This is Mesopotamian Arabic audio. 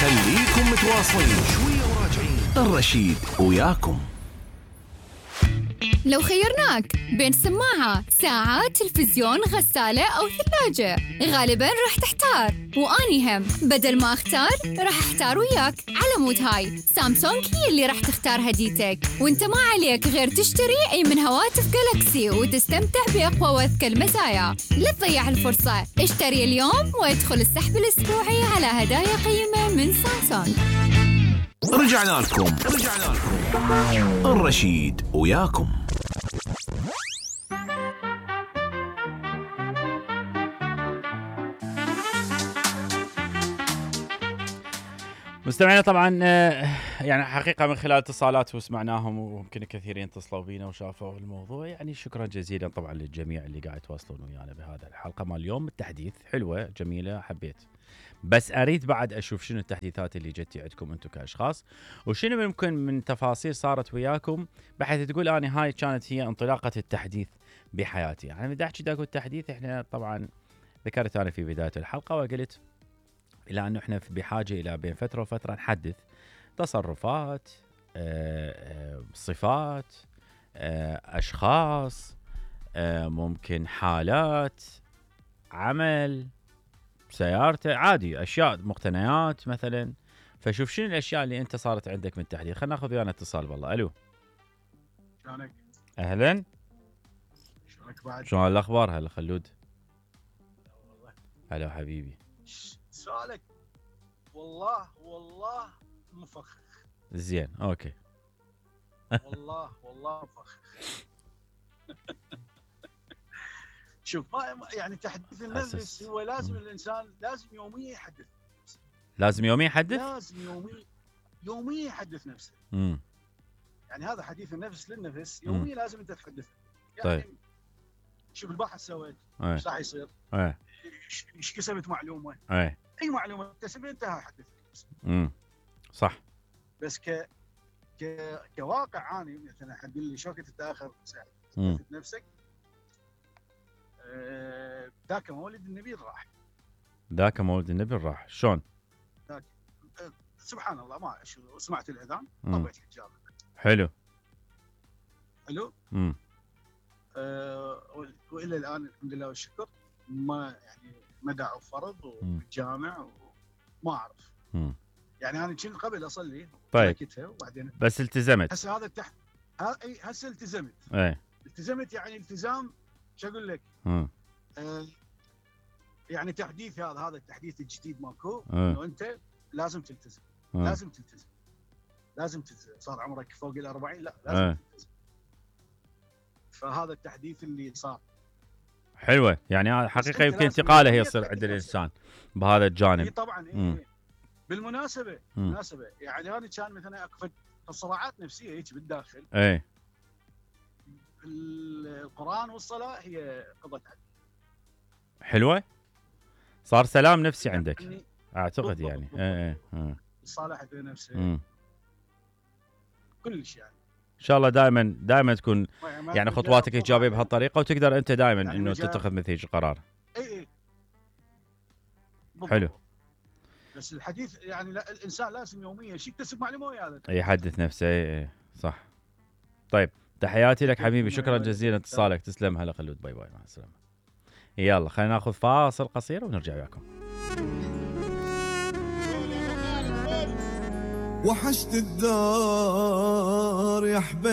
خليكم متواصلين شوية وراجعين. الرشيد وياكم. لو خيرناك بين سماعة، ساعة، تلفزيون، غسالة أو ثلاجة، غالباً راح تحتار. وأني هم بدل ما أختار راح أحتار وياك. على مود هاي سامسونج هي اللي راح تختار هديتك، وانت ما عليك غير تشتري أي من هواتف جالاكسي وتستمتع بأقوى وأذكى المزايا. لا تضيع الفرصة، اشتري اليوم وادخل السحب الأسبوعي على هدايا قيمة من سامسونج. رجعنا لكم. الرشيد وياكم. مستمعينا طبعا يعني حقيقة من خلال اتصالات وسمعناهم وممكن كثيرين اتصلوا بينا وشافوا الموضوع، يعني شكرا جزيلا طبعا للجميع اللي قاعد يتواصلون ويانا بهذا الحلقة مال اليوم. التحديث حلوة جميلة حبيت، بس أريد بعد أشوف شنو التحديثات اللي جتي عندكم أنتم كأشخاص، وشنو ممكن من تفاصيل صارت وياكم بحيث تقول أنا هاي كانت هي انطلاقة التحديث بحياتي. يعني بدي أحكي داكو التحديث، إحنا طبعا ذكرت أنا في بداية الحلقة وقلت إلى أنه إحنا بحاجة إلى بين فترة وفترة نحدث تصرفات، صفات، أشخاص، ممكن حالات، عمل، سيارته، عادي أشياء، مقتنيات مثلا. فشوف شنو الأشياء اللي أنت صارت عندك من التحديث. خلينا ناخذ ويانا اتصال. والله ألو، شلونك؟ أهلا، شلونك بعد؟ شلون الأخبار؟ هلا خلود. هلا حبيبي. سؤالك والله مفخخ. زين اوكي. والله مفخخ. شوف يعني تحديث النفس هو لازم الانسان لازم يوميا يحدث نفسه. لازم يوميا يحدث؟ لازم يوميا يحدث نفسه. يعني هذا حديث النفس للنفس يوميا لازم انت تحدث. يعني طيب شوف البحث سويت ايش راح يصير؟ ايش كسبت معلومه؟ اي معلومه اكتسبها انتهى حدث نفسك. صح. بس كواقع اني مثلا حد يقول لي شو كنت تتاخر تحدث نفسك؟ ذاك مولد النبي راح. ذاك مولد النبي راح شلون؟ سبحان الله ما سمعت الاذان طبيت الحجاب. حلو. والى الان الحمد لله والشكر ما دعوا فرض وجامع وما اعرف. يعني انا كنت قبل اصلي طيب وبعدين بس التزمت. هسه هذا هسه التزمت. التزمت يعني التزام شو اقول لك؟ يعني تحديث هذا التحديث الجديد ماكو انه انت لازم تلتزم. لازم تلتزم. صار عمرك فوق ال40 لا لازم تلتزم. فهذا التحديث اللي صار حلوه. يعني حقيقه يمكن انتقاله هي يصير عند الانسان بهذا الجانب. طبعا بالمناسبه يعني انا كان مثلا اكو صراعات نفسيه هيك بالداخل. القرآن والصلاه هي قضت عني. حلوه. صار سلام نفسي عندك يعني اعتقد يعني. الصالح في نفسه كل شيء يعني. ان شاء الله دائما تكون يعني خطواتك ايجابيه بهالطريقه وتقدر انت دائما يعني انه تتخذ مثل هيك قرار. اي حلو. بس الحديث يعني الانسان لازم يوميا يكتسب معلومه وياه يحدث نفسه. صح. طيب تحياتي لك حبيبي، شكرا جزيلا اتصالك. تسلم. هلا خلود. باي باي مع السلامه. يلا خلينا ناخذ فاصل قصير ونرجع وياكم. وحشت الدار يا حبيبي.